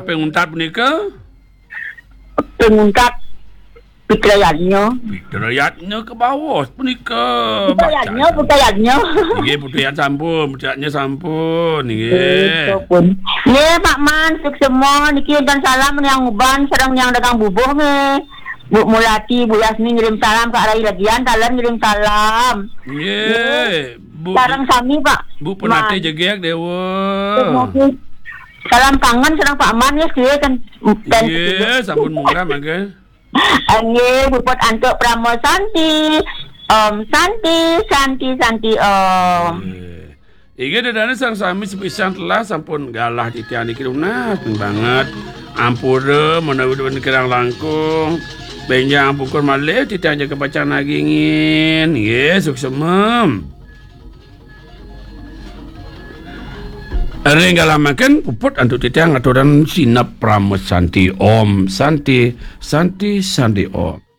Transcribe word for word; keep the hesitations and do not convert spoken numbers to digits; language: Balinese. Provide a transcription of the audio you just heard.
Panguntat punika? Panguntat Putrayadnya. Putrayadnya ke bawah punika. Putrayadnya, Putrayadnya. Nggih, Putrayad sampun, Putrayadnya sampun, nggih. Nggih, Pak Man, suksma, niki wonten salam Niang Uban sareng Niang Dagang Bubuh nggih. Bu Mulati, Bu Yasmin ngirim salam, Kak Rai Legian, taler ngirim salam. Nggih, Bu, sareng sami, Pak Bu Penate Man. Jegeg Dewa. Salam kangen sareng Pak Man ya, nggih, ten, ten Nggih, sampun munggah mangke. Nggih, puput antuk Parama Santi. Om Santi, Santi, Santi Om. Nggih. Inggih, dedane sareng sami sepisan telah sampun galah titiang niki lunas banget. Ampura menawi wonten kirang langkung. Benjang pungkur malih titiang jaga pacang nagingin. Nggih, suksma. Ring galamaken puput antuk titiang aturan sineb Parama Santi. Om Santi, Santi, Santi Om.